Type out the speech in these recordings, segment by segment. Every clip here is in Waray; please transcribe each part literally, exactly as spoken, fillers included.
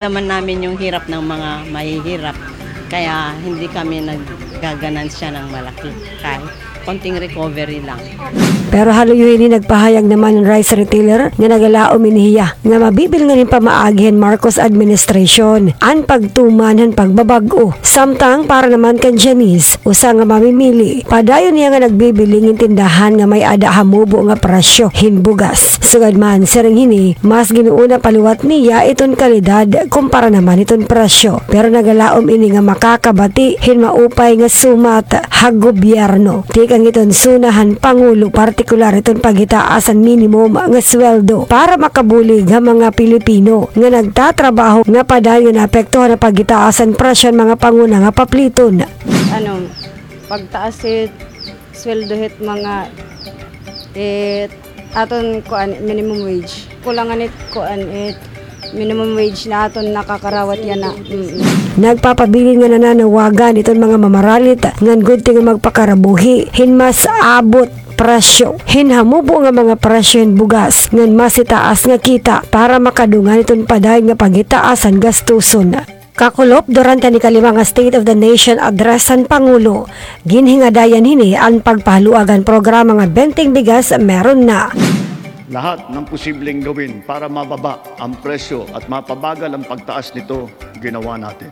naman namin yung hirap ng mga mahihirap. Kaya hindi kami naggaganansya ng malaki. Kahit konting recovery lang. Pero ha luyo hini nagpahayag naman an rice retailer nga nagalaom ini hiya nga mabibilngan hin pamaagi han Marcos administration an pagtuman han pagbabag-o. Samtang para naman kan Janice, usa nga mamimili, padayon niya nga nagbibiling hin tindahan nga may-ada hamubo nga presyo hin bugas. Sugad man, siring hini, mas gin-uuna pa liwat niya iton kalidad kumpara naman hiton presyo. Pero nagalaom ini nga makakabati hin maupay nga sumat ha gobyerno. Tikang iton SONA han Pangulo, partikular iton paghitaas han minimum nga sweldo para makabulig ha mga Pilipino nga nagtatrabaho nga padayon nga naapektuhan han paghitaas han presyo han mga panguna nga papliton. Ano, pagtaas it sweldo hit mga, it aton kuan, minimum wage. Kulangan it kuan, it minimum wage na aton nakakarawat yana. Mm. Nagpapabilin nga nananawagan iton mga mamaralit ngan gudti nga magpakarabuhi hin mas abot presyo hin hamubo nga mga presyo hin bugas ngan mas itaas nga kita para makadungan iton padayon nga paghitaas han gastuson. Kakulop, durante han ikalima nga State of the Nation Address han Pangulo, ginhingadayan hini an pagpahaluag han programa nga Benteng Bigas Meron Na. Lahat ng posibleng gawin para mababa ang presyo at mapabagal ang pagtaas nito, ginawa natin.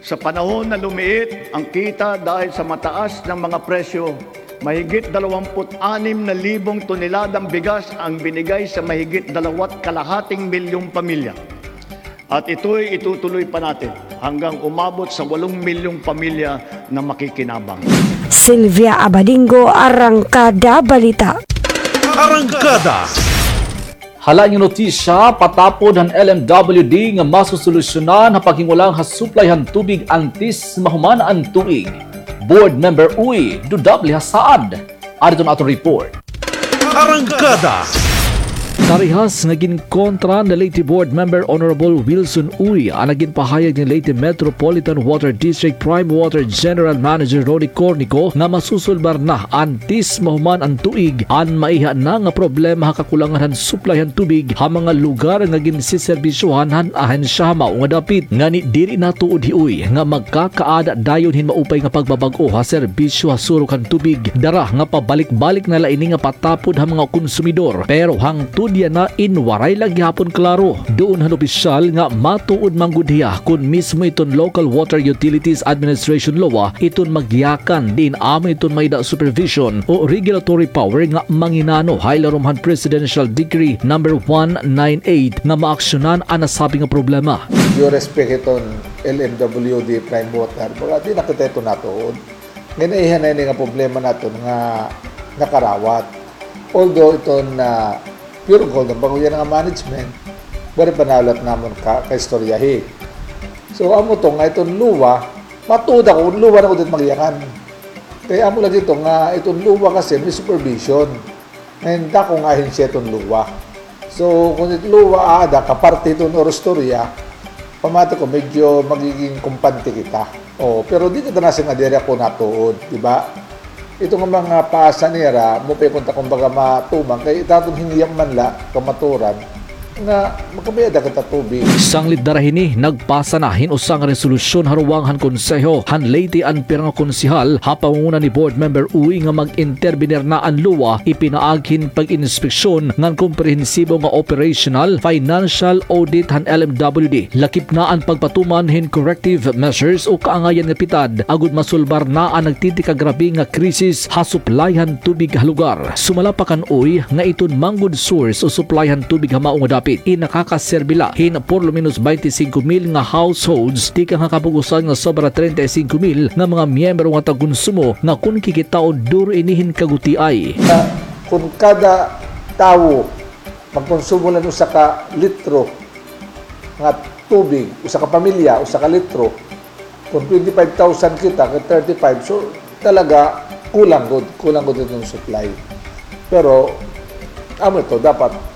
Sa panahon na lumiit ang kita dahil sa mataas ng mga presyo, mahigit dalawampu't anim na libong toneladang bigas ang binigay sa mahigit dalawa't kalahating milyong pamilya. At ito'y itutuloy pa natin hanggang umabot sa walong milyong pamilya na makikinabang. Sylvia Abadingo, Arangkada Balita. Arangkada. Hala nga notisya, patapod han L M W D nga masosolusyonan ha paghingulang ha supply han tubig antes mahuman an tuig. Board Member Uy, dudable ha saad. Adto an aton report. Arangkada. Parehas nga ginkontra ni Leyte Board Member Honorable Wilson Uy an ginpahayag ni Leyte Metropolitan Water District Prime Water General Manager Ronnie Cornico nga masusulbar na antes mahuman an tuig an maiha na nga problema ha kakulangan han supply han tubig ha mga lugar nga ginseserbisyohan han ahensya ha mao nga dapit. Ngani diri natuod hi Uy nga magkakaada dayon hin maupay nga pagbabag-o ha serbisyo ha surok han tubig. Dara nga pabalik-balik na la ini nga patapod ha mga konsumidor, pero hangtod yana in waray la gihapon klaro duon han opisyal nga matuod man gud hiya kon mismo iton Local Water Utilities Administration, LOA, iton magyakan diin amo iton may-ada supervision o regulatory power nga manginano ha ilarom han Presidential Decree number one nine eight nga maaksyonan an nasabi nga problema. Due respect iton L M W D Prime Water, baga di na kita ito natuod. Nginaihan na ini nga problema naton nga nakarawat. Although iton, ah, Pure Gold, an bag-o yana nga management, waray pa nahulat namon ka, kaistoryahi. So, amo to nga iton LOA, matuod ako, LOA na gud it magyakan. Kay amo lagi to nga iton LOA kasi may supervision. Ngan dako nga ahensya iton LOA. So, kon it LOA aada, kaparte iton orostorya, pamati ko, medyo magiging kumpante kita. O, pero di kita nasiring nga diri ako natuod, di ba? Ito nga mga paasa nira, maupay kunta kumbaga matuman, kay it aton hingyap man la, kamaturan, nga makabay-ada kita tubig. Sanglit dara hini, nagpasa na hin usa nga resolusyon ha ruwang han Konseho han Leyte an pira nga konsehal ha pangunguna ni Board Member Uy nga mag-intervenir na an LOA, ipinaagi hin pag-inspeksyon ngan komprehensibo nga operational, financial audit han L M W D. Lakip na an pagpatuman hin corrective measures o kaangayan nga pitad agod masulbar na an nagtitikagrabe nga krisis ha supply han tubig ha lugar. Sumala pa kan Uy nga iton man gud source o supply han tubig ha mao nga dapit in nakakaserbi la hin por lo menos baynte singko mil nga households tikang ha kabug-osan nga sobra treinta y cinco mil nga mga miyembro nga tagkonsumo nga kon kikitaon duro ini hin kagutiay. Nga kon kada tawo magkonsumo la hin usa ka litro nga tubig, usa ka pamilya, usa ka litro, kon twenty-five thousand kita, kay thirty-five, so talaga kulang gud, kulang gud iton supply. Pero amo ito, dapat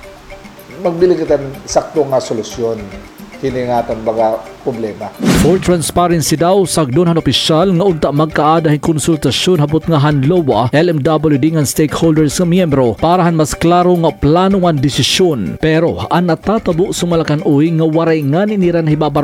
magbiling kita hin sakto nga solusyon. Kini nga aton baga problema. For transparency daw, sagdon han opisyal nga unta magkaada hin konsultasyon ha butnga han LOA, L M W D ngan stakeholders nga miyembro para han mas klaro nga plano ngan desisyon. Pero an natatabo sumala kan Uy nga waray ngani nira nahibabar